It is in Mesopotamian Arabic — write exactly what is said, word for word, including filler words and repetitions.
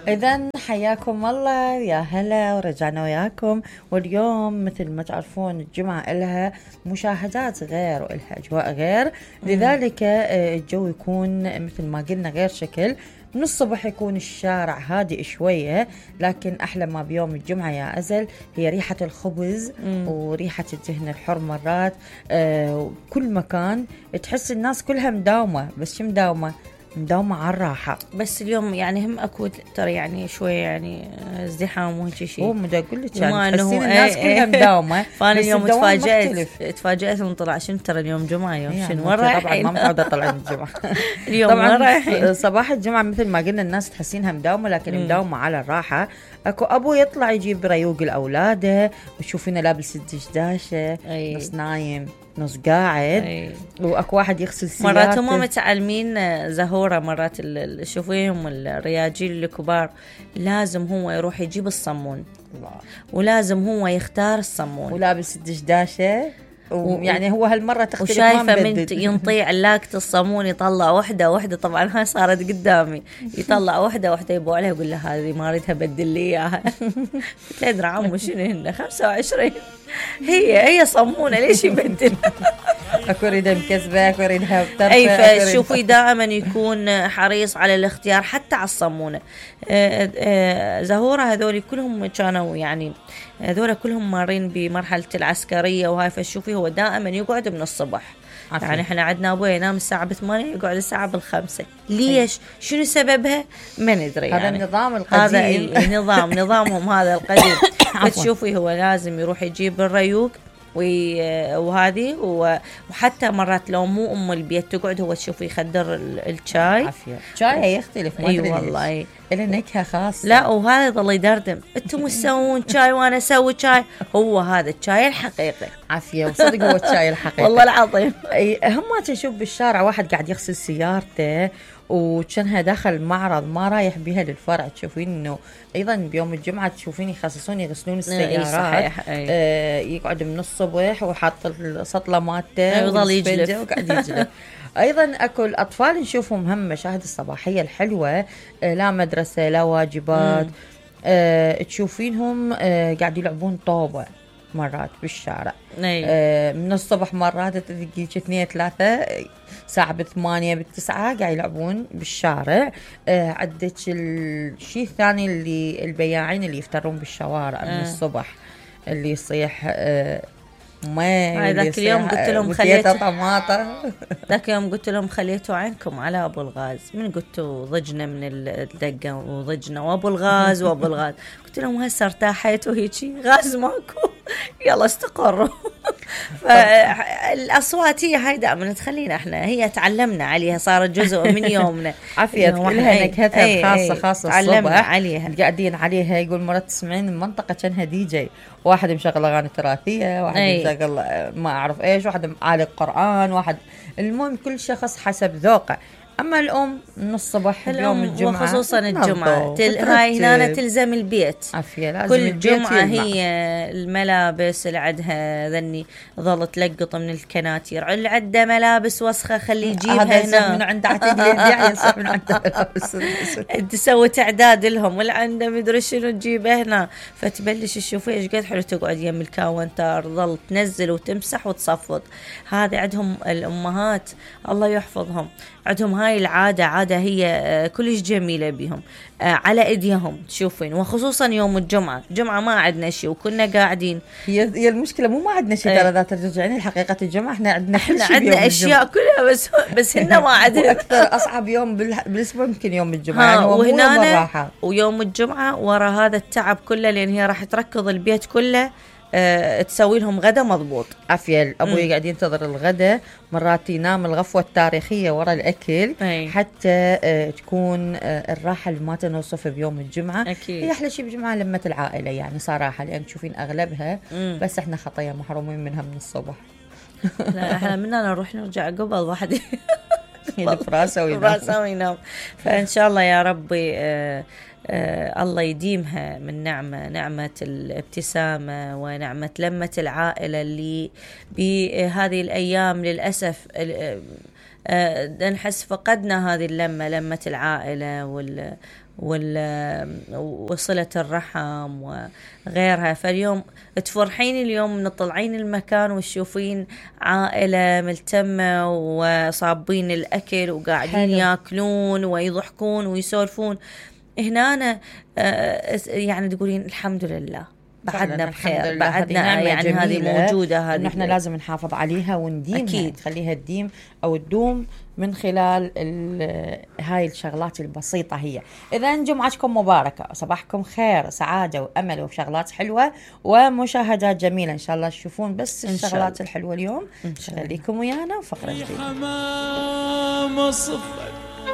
إذن حياكم الله، يا هلا ورجعنا وياكم. واليوم مثل ما تعرفون الجمعة إلها مشاهدات غير وإلها أجواء غير، لذلك الجو يكون مثل ما قلنا غير شكل. من الصبح يكون الشارع هادئ شوية، لكن أحلى ما بيوم الجمعة يا أزل هي ريحة الخبز مم. وريحة الدهن الحر مرات. آه كل مكان تحس الناس كلها مداومة، بس شو مداومة؟ مداومة على الراحة. بس اليوم يعني هم اكو ترى يعني شوي يعني ازدحام وهيك شيء. هو مدا اقول لك يعني تحسين الناس ايه كلها مداومة. فانا اليوم تفاجأت تفاجأت من طلع شنو ترى اليوم جمعة يوم يعني شنو وين رايحين؟ طبعا ما متعودة اطلع من الجمعة. اليوم وين رايحين؟ صباح الجمعة مثل ما قلنا الناس تحسينها مداومة، لكن م. مداومة على الراحة. اكو ابو يطلع يجيب ريوق الاولاد، وتشوفينه لابس الدشداشة نص نايم نص قاعد. أي. واكو واحد يغسل سيارته. مرات هم متعلمين زهورة، مرات شوفيهم الرياجيل الكبار لازم هو يروح يجيب الصمون الله. ولازم هو يختار الصمون ولابس الدشداشة، ويعني هو هالمرة تختلف. وشايفة من ينطيع علاقة الصمون يطلع وحدة وحدة، طبعا هاي صارت قدامي، يطلع وحدة وحدة يبو عليها يقول لها هذه ما اريدها بدل لي اياها. قلت له ادري عمو شنو هن خمسة وعشرين هي هي صمونة ليش يبدل؟ اكو ريدها مكسبة، اكو ريدها بترفع. اي فشوفي دائما يكون حريص على الاختيار حتى على الصمونة. آه آه زهورة هذول كلهم كانوا يعني هذول كلهم مارين بمرحلة العسكرية وهاي، فشوفي هو دائما يقعد من الصبح. عفوا. يعني احنا عندنا ابوي ينام الساعة بثمانية يقعد الساعة بالخمسة. ليش؟ شنو سببها؟ ما ندري. هذا يعني النظام القديم. هذا نظام نظامهم هذا القديم. فتشوفي هو لازم يروح يجيب الريوق وهذه، وحتى مرات لو مو ام البيت تقعد هو تشوفي يخدر الشاي. عافية شاي يختلف. اي أيوة والله له نكهة خاصة. لا وهذا يظل يدردم انتم تسوون شاي وانا اسوي شاي. هو هذا الشاي الحقيقي. عافية وصدق هو الشاي الحقيقي. والله العظيم. هم ما تشوف بالشارع واحد قاعد يغسل سيارته وكانها داخل معرض ما رايح بها للفرع، تشوفين انه ايضا بيوم الجمعه تشوفين يخصصون يغسلون السيارات. صحيح. آه يقعد من الصبح وحاط السطله مالته ويظل يجلف وقاعد يجلف. ايضا اكو الاطفال نشوفهم هم مشاهد الصباحيه الحلوه، آه لا مدرسه لا واجبات. آه تشوفينهم آه قاعد يلعبون طوبه مرات بالشارع. آه من الصبح مرات تلقي اثنين ثلاثة ساعة بثمانية بالتسعة قاعد يلعبون بالشارع. آه عدك الشيء الثاني اللي البياعين اللي يفترون بالشوارع آه. من الصبح اللي يصيح آه ما ذاك اليوم قلت لهم خليتوا طماطة. ذاك اليوم قلت لهم خليتوا عينكم على ابو الغاز. من قلتوا ضجنا من الدقة وضجنا وابو الغاز وابو الغاز. قلت لهم هسه ارتاحيتوا هيجي غاز ماكو يلا استقروا. فالأصوات هي هاي دائما تخلينا احنا هي تعلمنا عليها، صارت جزء من يومنا. عافية لها نكهتها الخاصة خاصة تعلمنا عليها قاعدين عليها. يقول مرات تسمعين المنطقة كانها دي جي، واحد مشغل أغاني تراثية، واحد مشغل ما أعرف إيش، واحد عالق قرآن، واحد المهم كل شخص حسب ذوقه. أما الأم من الصبح يوم الجمعة وخصوصا الجمعة تل... هاي هنا تلزم البيت. عافية لازم كل جمعة هي الملابس اللي عندها ذني ظل تلقط من الكناتير، اللي عنده ملابس وسخة خليه يجيبها هنا من عنده عتيد يبيع ينسح من عنده ملابس تسوي تعداد لهم، واللي عنده مدري شنو تجيبه هنا. فتبلش تشوفي ايش قد حلو تقعد يم الكاونتر ظل تنزل وتمسح وتصفط. هذا عندهم الأمهات الله يحفظهم، عندهم هاي العادة، عادة هي كلش جميلة بهم على ايديهم تشوفين. وخصوصا يوم الجمعة، جمعة ما عندنا شيء وكنا قاعدين. هي هي المشكلة مو ما عندنا شيء ترى، اذا ترجعين الحقيقة الجمعة احنا عندنا احنا عندنا اشياء كلها بس بس هن ما عندنا. اكثر اصعب يوم بالاسبوع يمكن يوم الجمعة يعني وهنا ويوم الجمعة ورا هذا التعب كله، لان هي راح تركض البيت كله أه تسوي لهم غدا مضبوط. عافية أبوي قاعد ينتظر الغدا، مرات ينام الغفوة التاريخية ورا الأكل. أي. حتى أه تكون أه الراحة اللي ما تنوصف بيوم الجمعة. أكيد. هي أحلى شيء بجمعة لمة العائلة يعني صراحة، لأن تشوفين أغلبها مم. بس إحنا خطية محرومين منها من الصبح. لا إحنا مننا نروح نرجع قبل واحد فراسة وينام. فراسة وينام. فإن شاء الله يا ربي أه آه الله يديمها من نعمة، نعمة الابتسامة ونعمة لمة العائلة اللي بهذه الأيام للأسف آه نحس فقدنا هذه اللمة، لمة العائلة وال وصلة الرحم وغيرها. فاليوم تفرحين اليوم تطلعين المكان وتشوفين عائلة ملتمة وصابين الأكل وقاعدين حلو. ياكلون ويضحكون ويسولفون. هنا أنا يعني تقولين الحمد لله بعدنا بخير، بعدنا يعني هذه موجودة، هذه نحن لازم نحافظ عليها ونديمها، أكيد نخليها تديم أو تدوم من خلال هاي الشغلات البسيطة. هي إذا جمعتكم مباركة، صباحكم خير، سعادة وأمل وشغلات حلوة ومشاهدات جميلة إن شاء الله تشوفون بس الشغلات الحلوة اليوم. خليكم ويانا وفقرة جديدة.